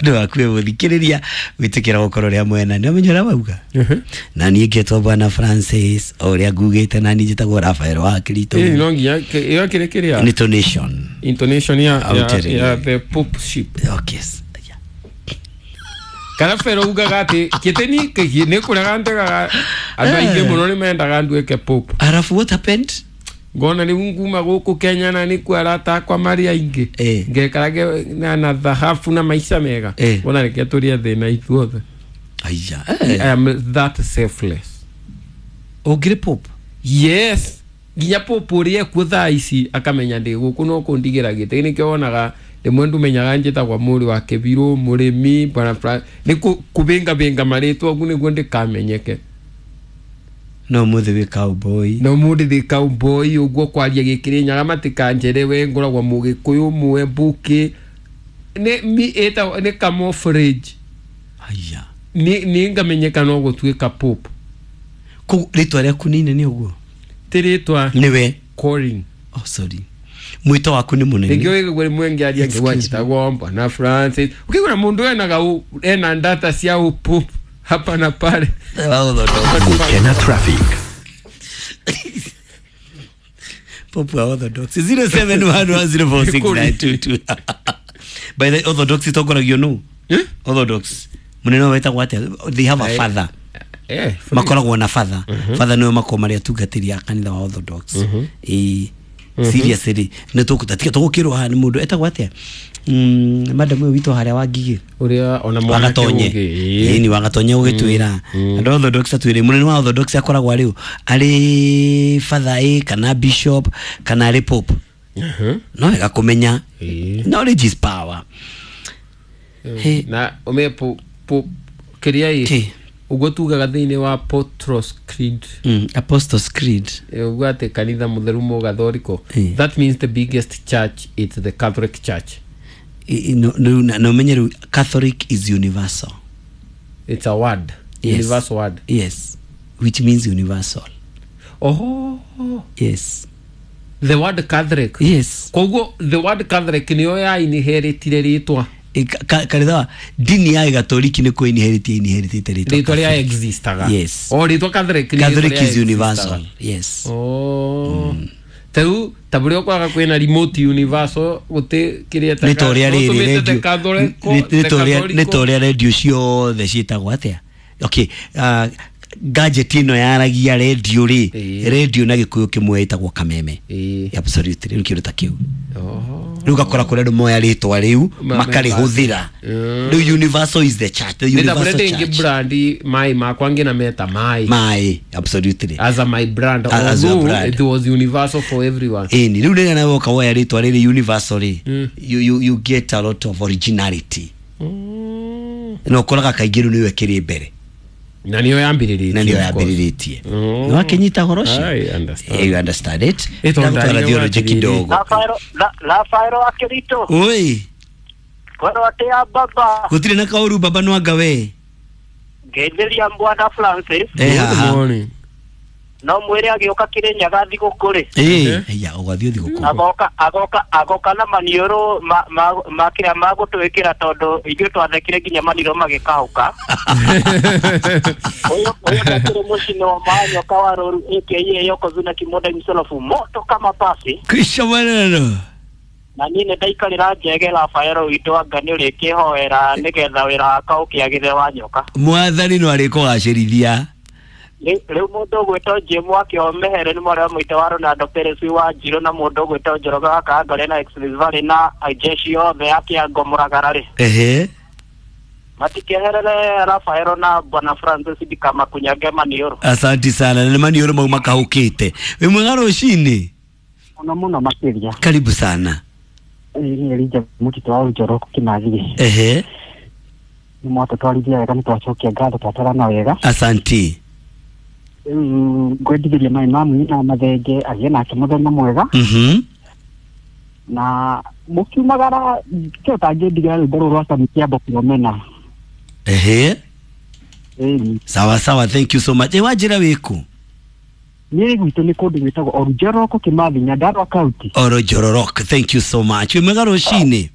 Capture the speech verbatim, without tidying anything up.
Ndu waku muthikiriria gwitikira gukorwo ria mwena ni umenya uria wauga na niĩ ngetwo Bwana Francis o uria ngugite na niĩ njĩtagwo Rafael wa Kirito. Ĩ no nginya ĩyo kĩrĩ kĩrĩa intonation intonation ya ya, ya the popeship. Okay. Kana fero ugaga ati kiteni nĩ kũrega ndegaga andũ aingĩ mũno nĩ mendaga nduĩke pope. Arafu what happened? Ngona rĩu nguma gũkũ Kenya na nĩkuo arata akwa marĩ aingĩ ngekarage na na thahabu na maica mega ngona reke tũrĩe thĩna ithuothe. Aya, I am that selfless. Ũngĩrĩ pope? Yes. Nginya pope ũrĩa ekuo thaa ici akamenya ndĩ gũkũ no kũndigĩra gĩtĩ nĩkĩo wonaga rĩmwe ndumenyaga njĩtagwo mũrĩ wa Kĩbirũ mũrĩmi bwana nĩ kũbĩngabĩnga marĩtwa ũguo nĩguo ndĩkamenyeke. No mũthĩ wĩ cowboy. No mũthĩ thĩ cowboy ũguo kwaria gĩkĩrĩ nyaga matikanjerewe ngoragwo mũgĩkũyũ mũe mbũkĩ nĩ mi ĩtagwo nĩ camouflage. Aya. Nĩ nĩ ngamenyeka no gũtuĩka pope. Kũu rĩtwa rĩaku nĩ inene ũguo? Ti rĩtwa. Nĩwe. Calling. Oh sorry. Mwito waku nĩ mũnene. Nĩkĩo wĩgũgũ rĩmwe ngĩaria ngĩgwa njĩtagwo Bwana Francis. Ũkĩgũra mũndũ enaga ena data cia ũpope hapa na pale. Gukena traffic. Pope wa Orthodox zero seven one one zero four six nine two two. By the Orthodox itongoragio nũ? Orthodox munene wetagwo atĩa? They have a father. Eh, makoragwo na father. Father nĩwe makoragwo marĩ atungatĩri a kanitha wa Orthodox. Eh, seriously nĩ tũkũtatika tũgũkĩrwo haha nĩ mũndũ etagwo atĩa? Mm, madam ũyũ witũ harĩa wa Ngigĩ ũrĩa ona mwanake ũngĩ ĩĩ ni Wagatonye ũgĩtwĩra andũ Orthodox atwĩre mũnene wa Orthodox akoragwo arĩ arĩ father ĩ kana bishop kana arĩ pope. No wega kũmenya knowledge is power. Na ũmenye po kĩrĩa ĩ ũguo tugaga thĩinĩ wa Apostles Creed. Mm, Apostles Creed. Ũguo atĩ kanitha mũtheru mũgathoriko. That means the biggest church is the Catholic Church. No, no, no, no, Catholic is universal. It's a word. Yes. Universal word. Yes. Which means universal. Oh. Yes. The word Catholic. Yes. Koguo the word Catholic niyo ya inheritire rĩtwa. Kanitha dini ya Gatoliki nĩ kũ inherit inheritite rĩtwa. Rĩtwa rĩa existaga. Yes. Oh, rĩtwa Catholic ni Catholic is universal. Yes. Oh. Mm. Teu taburi okwaga kwina remote universal guti kiria ta nĩ toria radio ciothe ciĩtagwo atĩa? Okay, uh, gadget ĩno yaragia radio rĩ, radio na gĩkũyũ kĩmwe ĩtagwo kameme. Absolutely, rĩu kĩndũ ta kĩu. Rĩu gakora kũrĩa andũ moya rĩtwa rĩu makarĩhũthĩra. Rĩu universal is the church, the universal church. Nĩ brand mai makwa ngina meta mai. Mai, absolutely. As a my brand, although it was universal for everyone. Ĩni, rĩu rĩrĩa nawe woka woya rĩtwa rĩrĩ universal rĩ, you, you, you get a lot of originality. Na ũkoraga kaingĩ rĩu nĩwe kĩrĩ mbere. Na niyo yambĩrĩrĩtie. Na niyo yambĩrĩrĩtie. No akinyita horo ũcio. I understand. You understand it. Ndagũtwara theology kidogo. Rafael wa Kirito. Oi. Kwero atĩa baba? Gũtirĩ na kaũru baba no anga we. Ngeithĩria Bwana Francis. Good morning. No mwĩre agĩũka Kĩrĩnyaga thigũkũ rĩ. Ĩĩ, aya ũgathiĩ thigũkũ. Agoka agoka agoka na maniũrũ ma ma kĩrĩa magũtwĩkĩra tondũ ithuĩ twathekire nginya maniũrũ magĩkahũka. Ũyũ ũyũ ndakĩrĩ mũcino wa manyoka wa rũru aka Yokozuna Kimoda himself moto kama pasi. Kisha maneno. Na niĩ nĩ ndaikarĩra njege Rafael witũ anga nĩ ũrĩkĩhoera nĩgetha wĩra wakwa ũkĩagĩre wa nyoka. Mwathani no arĩkũgacĩrithia. Rĩu mũndũ ũgwĩtwo Jim wakĩo Mehere nĩ mwarĩ wa mũitũ wa Ronaldo Perez wa Njirũ na mũndũ ũgwĩtwo Njoroge wa Kangore na Express Valley na jeshi yothe ya Kĩango Mũragara rĩ. Ehe. Matikeherere Rafael na Bwana Francis ndikamakunyange maniũrũ. Asante sana. Na maniũrũ mau makahũkĩte. Wĩ mwega rũcinĩ? Mũno mũno makĩria. Karibu sana. Nĩ Elijah Mũtitũ wa Njoroko Kĩmathi. Ehe. Nĩ mwatũtwarithia wega nĩ twacokia ngatho twatwarana wega. Asante. Ngwendithĩria maĩ ma mũini na mathenge agĩe nake mũthenya mwega. Mhm. Na mũkiumagara kĩo ũtangĩndigĩra rwĩmbo rũrũ rwa Sami Kĩambo Kĩromena. Ehe. Ĩni. Sawa sawa, thank you so much. E wanjĩra wĩkũ? Niĩ gwitũ nĩ kũndũ gwĩtagwo Orujoroko Kĩmathi, Nyandarua County. Orujoroko, thank you so much. Wĩ mwega rũcinĩ?